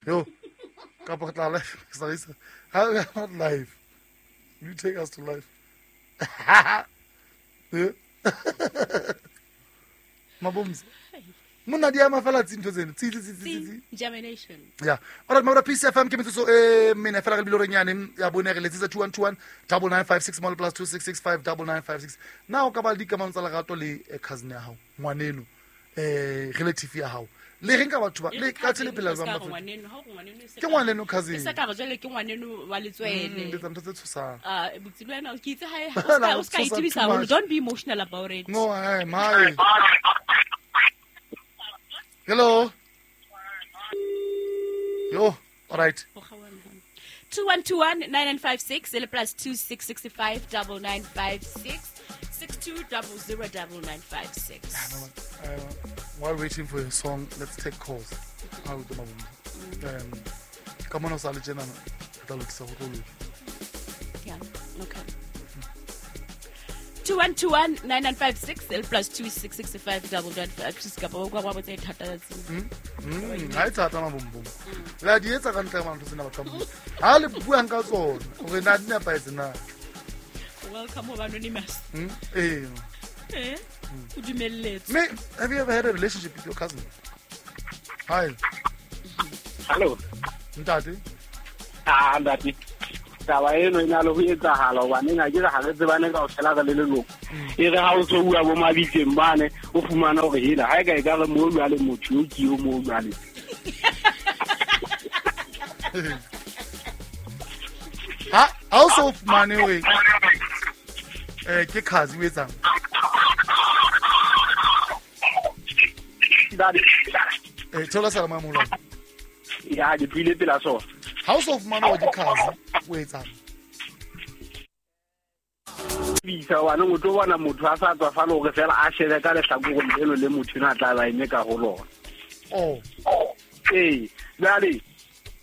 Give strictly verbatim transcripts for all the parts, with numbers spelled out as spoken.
Yo, kapa re tla live. Sorry, sir. How we are not live. You take us to live. Yeah. Mabomza. Monna di ama fela tsi ntho tseno. Tsi tsi tsi tsi tsi. Germination. Yeah. All right, Maura P C F M ke metsotso e mene fela re bile re nyane ya bone re letsetsa two one two one double nine five six plus two six six five double nine five six. Na o ka ba le dikamano tsa lerato le cousin ya hao, ngwaneno, eh relative ya hao. Le reng ka batho ba le ka tsele pela jwang ba ngwaneno, ha o ngwaneno e se ke ngwaneno cousin. E se ka re jwale ke ngwaneno wa letswele. Le tsa ntho tse tshosang. Ah, botsi le wena ke itse ha e o ska itibisa haholo. Don't be emotional about it. No, hey, my. Hello. Yo, all right. two one two one nine nine five six plus two six six five double nine five six six two double zero double nine five six. Uh, while waiting for your song, let's take calls. Um, come on, yeah, okay. two one two one nine nine five six plus two six six five double nine five six. Kapa o kwa wa botsa thata tse. Mm. Ha e thata ma bombom. La di etsa ka ntle ma ntho tsena batho ba. Ha le buang ka tsona, hore na di nepahetse na. Welcome ho anonymous. Mm. Eh. Eh? O dumelletse. Me, have you ever had a relationship with your cousin? Hi. Hello. Ntate. Ah, ntate. Taba eno e na le ho etsahala hobane ha ke re ha re tsebane kaofela re le leloko. E re ha o so bua bo mabitseng bane o fumana hore hela ha e ka e ka re mo jwale motho yo ke yo mo jwale. Ha ha o so fumane hore eh ke cousin o etsang? Eh thola sala mamola. Ya ke buile pela sona. Ha o so fumana hore ke cousin o etsang? Bisa wa no tlo bona motho a sa tswa fa le hore fela a shebe ka lehlakoreng leno le motho ena tla ba eme ka ho lona. Oh. Eh, jwale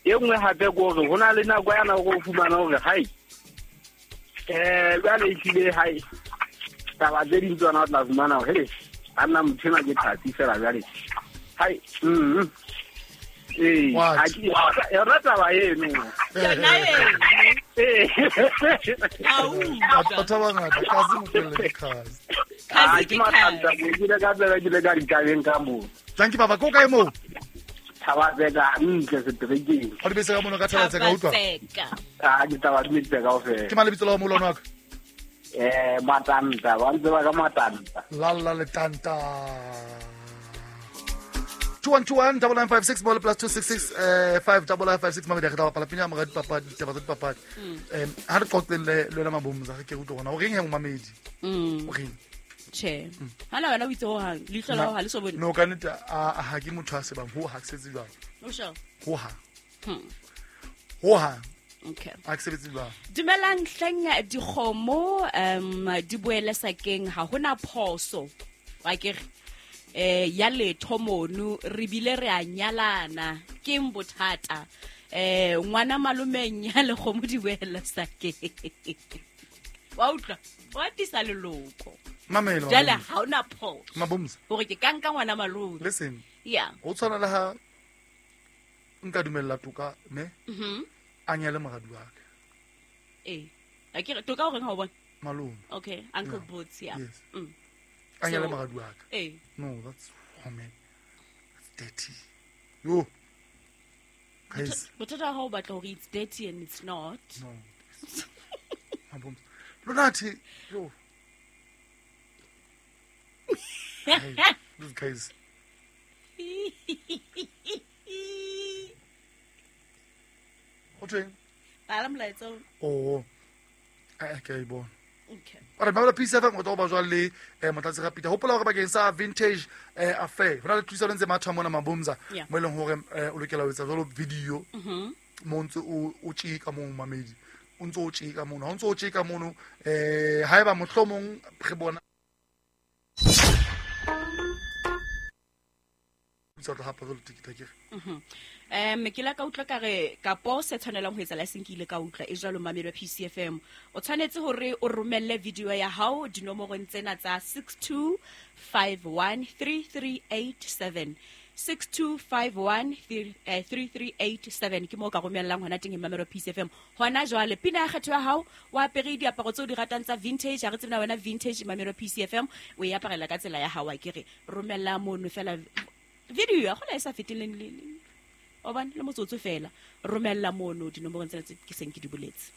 e nngwe hape ke hore ho na le nako ya nako o fumana hore hai. Eh, jwale e tlile hai. Taba tse ding tsona o tla fumana hore a nna motho ena ke thatsi fela jwale. Hai. Mm. Eh, ha ke yona taba eno. Yona eno. Eh. Au. Batho ba bangata cousin o felle ke cousin. Cousin ke cousin. Ke ile ka tsela ke ile ka ditabeng ka moo. Thank you baba, ko kae moo? Thabatseka ntle seterekeng. Ha di bese ka mono ka Thabatseka utlwa. Ah, ke taba di metsa kaofela. Ke mang lebitso la ho molwana wa ka? Eh, Matanta, ba ntse ba ka Matanta. La la le tanta. two one two one double nine five six plus two six six five double nine five six mabedi re tla bapala pina mora dipapadi ditaba tsa dipapadi. Em ha re qoqeng le lona Mabomza re ke utlwe gona o reng he momamedi? Mm. O reng? Che. Hala wena o itse ho hang leihlo la ho ha le so bone. No ka nnete a ha ke motho a sebang ho ha ke setse jwang. O sure? Ho ha. Hmm. Ho ha. Okay. A ke sebetse jwang. Dumelang hleng dikgomo um di boele sakeng ha hona phoso. Wa ke re eh ya letho mono re bile re a nyalana ke eng bothata eh ngwana malomeng ya le kgomo di boele sakeng. Wa utlwa wa tisa leloko. Mamelo. Jwale ha ona phoso. Mabomza. Hore ke ka nka ngwana malome. Listen. Yeah. Ho tshwana le ha nka dumella Toka ne? Mhm. A nyale moradi wa ka. Eh. A ke re Toka o reng ha o bona? Malome. Okay, Uncle yeah. Boots, yeah. Yes. Mm. A nyale moradi wa ka. Eh. No, that's oh man. That's dirty. Yo. Guys. Bothata ha o batla hore it's dirty and it's not. No. Mabomza. Lunathi, yo. Hey, these guys. O tweng? Bala molaetsa. Oh. Eh ke a e bona. Okay. All right, Maura P C F M o tlo ba jwale le eh Motlatsi Rapita. Hopola hore bakeng sa vintage eh affair. Hona le thusa le ntse matha mona Mabomza mo eleng hore o lokela ho etsa jwalo video. Mhm. Mo ntse o o tjeka mo mamedi. O ntse o tjeka mono. Ha o ntse o tjeka mono eh haeba mohlomong re bona tsa tla hapa jwalo tikita ke. Mhm. Um ke la ka utlwa ka re kapo se tshwanelang ho etsa la seng ke ile ka utlwa e jwalo mamedi wa P C F M. O tshwanetse hore o romelle video ya hao dinomorong tsena tsa six two five one three three eight seven. six two five one three three eight seven ke mo ka romellang hona teng Mamelo Peace F M. Hona jwale pina ya kgetho ya hao wa apere diaparo tseo di ratang tsa vintage, ha re tsebe na wena vintage Mamelo Peace F M o e aparela ka tsela ya hao, a ke re romella mono fela video ya gola e sa feteleng le o bana le motsotso fela, romella mono dinomorong tsena tse ke seng ke di boletse.